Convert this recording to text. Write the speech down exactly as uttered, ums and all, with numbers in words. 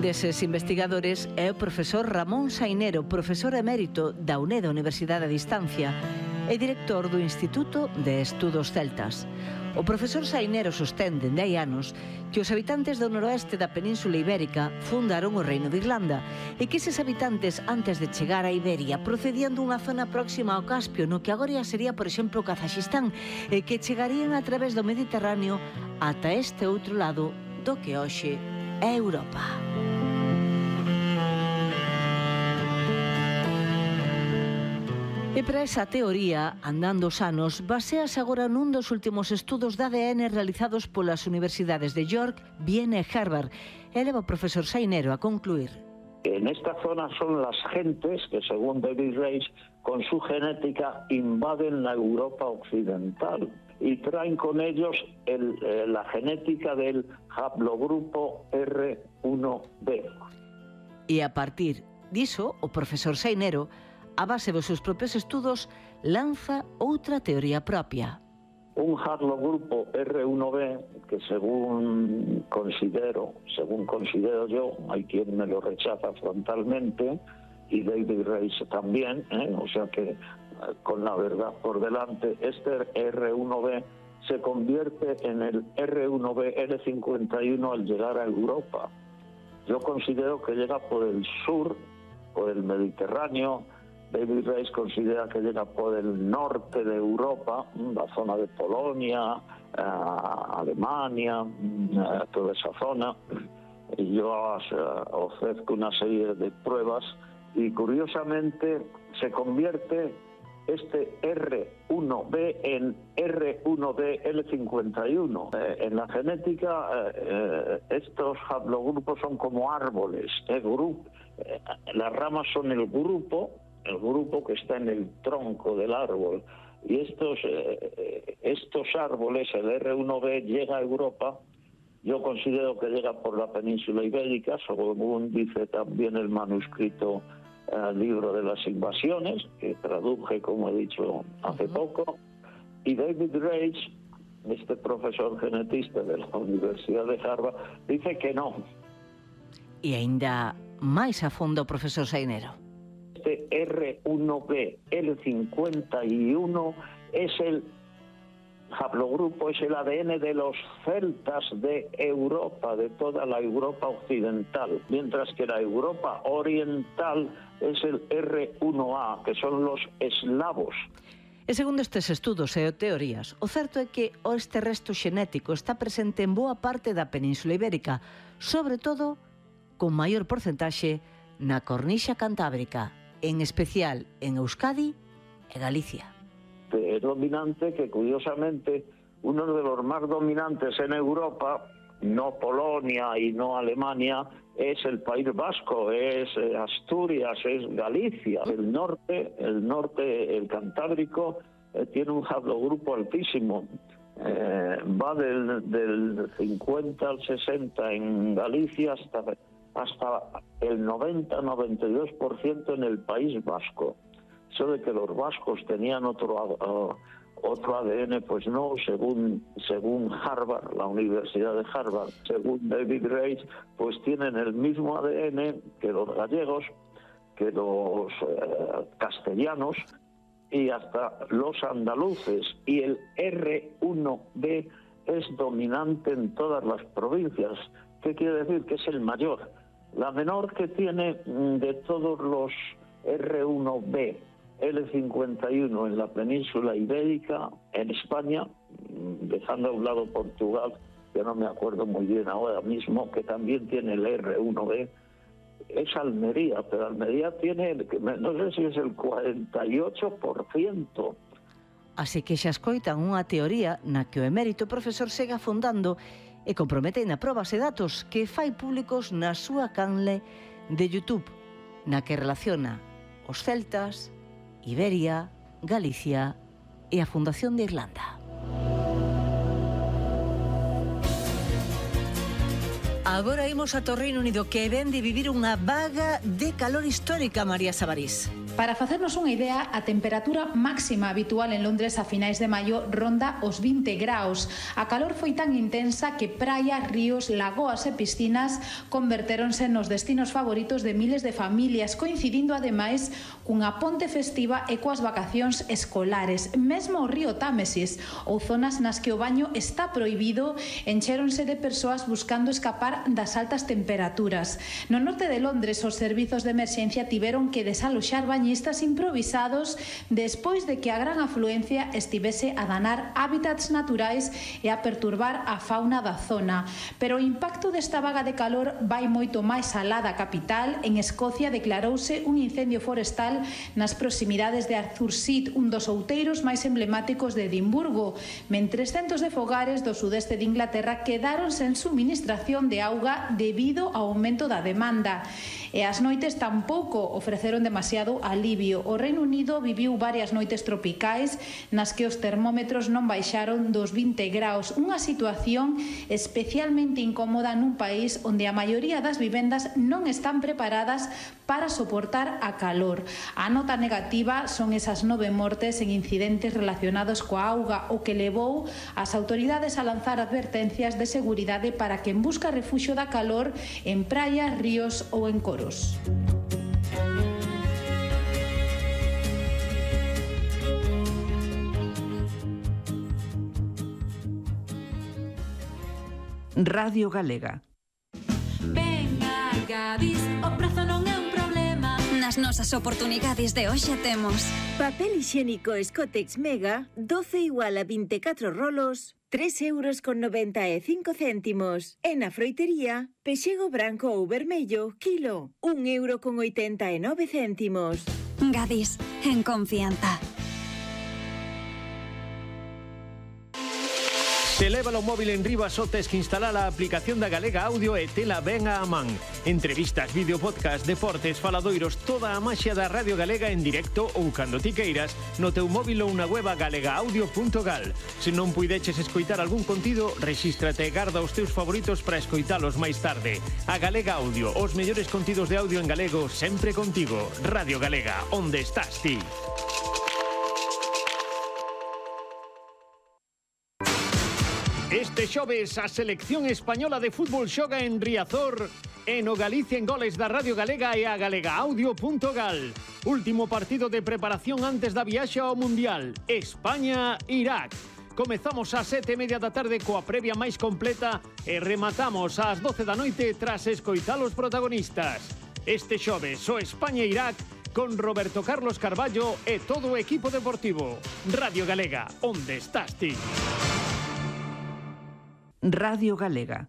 deses investigadores é o profesor Ramón Sainero, profesor emérito da U N E D, Universidade a Distancia, e director do Instituto de Estudos Celtas. O profesor Sainero sostén dende hai anos que os habitantes do noroeste da Península Ibérica fundaron o Reino de Irlanda e que eses habitantes, antes de chegar a Iberia, procedían dunha zona próxima ao Caspio, no que agora sería, por exemplo, Kazaxistán, e que chegarían a través do Mediterráneo ata este outro lado do que hoxe é Europa. E para esa teoría, andando os anos, basease agora nun dos últimos estudos de A D N realizados polas universidades de York, Viena e Harvard. E leva o profesor Sainero a concluir. En esta zona son las gentes que, según David Reich, con su genética invaden la Europa occidental y traen con ellos el, eh, la genética del haplogrupo erre uno be. E a partir diso, o profesor Sainero, a base dos seus propios estudos, lanza outra teoría propia. Un haplogrupo erre uno be, que según considero, según considero yo, hay quien me lo rechaza frontalmente, y David Reich también, ¿eh? O sea que con la verdad por delante, este erre uno be se convierte en el erre uno be ele cincuenta y uno al llegar a Europa. Yo considero que llega por el sur, por el Mediterráneo. David Reich considera que llega por el norte de Europa, la zona de Polonia, eh, Alemania, eh, toda esa zona. Y yo eh, ofrezco una serie de pruebas y curiosamente se convierte este erre uno be en erre uno be ele cincuenta y uno. Eh, en la genética eh, estos haplogrupos son como árboles, eh, grupo, eh, las ramas son el grupo, el grupo que está en el tronco del árbol, y estos, eh, estos árboles, el erre uno be llega a Europa. Yo considero que llega por la península ibérica, según dice también el manuscrito eh, libro de las invasiones, que traduje, como he dicho, hace poco, y David Reich, este profesor genetista de la Universidad de Harvard, dice que no. E aínda máis a fondo, profesor Sainero. Este erre uno be ele cincuenta y uno es el haplogrupo, es el A D N de los celtas de Europa, de toda la Europa occidental, mientras que la Europa oriental es el erre uno a, que son los eslavos. E segundo estes estudos e teorías, o certo é que este resto xenético está presente en boa parte da Península Ibérica, sobre todo con maior porcentaxe na cornixa cantábrica, en especial en Euskadi e Galicia. Es dominante que, curiosamente, uno de los más dominantes en Europa, no Polonia y no Alemania, es el País Vasco, es Asturias, es Galicia. El norte, el norte, el Cantábrico, eh, tiene un haplogrupo altísimo. Eh, va del, del cincuenta al sesenta en Galicia hasta... hasta el noventa a noventa y dos por ciento en el País Vasco. Eso de que los vascos tenían otro, uh, otro A D N, pues no, según, según Harvard, la Universidad de Harvard, según David Reich, pues tienen el mismo A D N que los gallegos, que los uh, castellanos y hasta los andaluces. Y el erre uno be es dominante en todas las provincias. ¿Qué quiere decir? Que es el mayor. La menor que tiene de todos los erre uno be ele cincuenta y uno en la península ibérica, en España, dejando a un lado Portugal, que no me acuerdo muy bien ahora mismo, que también tiene el erre uno be, es Almería, pero Almería tiene, no sé si es el cuarenta y ocho por ciento. Así que xa escoitan unha teoría na que o emérito profesor segue afondando e compromete na probas e datos que fai públicos na súa canle de YouTube, na que relaciona os celtas, Iberia, Galicia e a fundación de Irlanda. Agora imos a Reino Unido, que ven de vivir unha vaga de calor histórica, María Sabarís. Para facernos unha idea, a temperatura máxima habitual en Londres a finais de maio ronda os vinte graus. A calor foi tan intensa que praias, ríos, lagoas e piscinas convertéronse nos destinos favoritos de miles de familias, coincidindo ademais cunha ponte festiva e coas vacacións escolares. Mesmo o río Támesis ou zonas nas que o baño está prohibido enchéronse de persoas buscando escapar das altas temperaturas. No norte de Londres, os servizos de emerxencia tiveron que desaloxar bañistas improvisados despois de que a gran afluencia estivese a danar hábitats naturais e a perturbar a fauna da zona. Pero o impacto desta vaga de calor vai moito máis alá da capital. En Escocia declarouse un incendio forestal nas proximidades de Arthur Seat, un dos outeiros máis emblemáticos de Edimburgo, mentres centos de fogares do sudeste de Inglaterra quedaron sen suministración de auga debido ao aumento da demanda. E as noites tampouco ofreceron demasiado alivio. O Reino Unido viviu varias noites tropicais nas que os termómetros non baixaron dos vinte graus, unha situación especialmente incómoda nun país onde a maioría das vivendas non están preparadas para soportar a calor. A nota negativa son esas nove mortes en incidentes relacionados coa auga, o que levou as autoridades a lanzar advertencias de seguridade para quen busca refuxio da calor en praias, ríos ou en coros. Radio Galega. Venga, Gadis, o prazo non é un problema. Nas nosas oportunidades de hoxe temos papel higiénico Escotex Mega, doce igual a veinticuatro rolos, tres euros con noventa e cinco céntimos. E na froitería, pexego branco ou vermello, kilo, un euro con oitenta e nove céntimos. Gadis, en confianza. Se leva o móvil en riba só tes que instalar a aplicación da Galega Audio e tela ben a man. Entrevistas, vídeo, podcast, deportes, faladoiros, toda a maxia da Radio Galega en directo ou cando ti queiras no teu móvil ou na web galega audio punto gal. Se non puideches escoitar algún contido, rexístrate e garda os teus favoritos para escoitalos máis tarde. A Galega Audio, os mellores contidos de audio en galego sempre contigo. Radio Galega, onde estás ti? Este xoves a selección española de fútbol xoga en Riazor e no Galicia en Goles da Radio Galega e a galega audio punto gal. Último partido de preparación antes da viaxe ao Mundial, España-Irak. Comezamos ás sete e media da tarde coa previa máis completa e rematamos ás doce da noite tras escoitar os protagonistas. Este xoves o España-Irak con Roberto Carlos Carballo e todo o equipo deportivo. Radio Galega, onde estás ti? Radio Galega.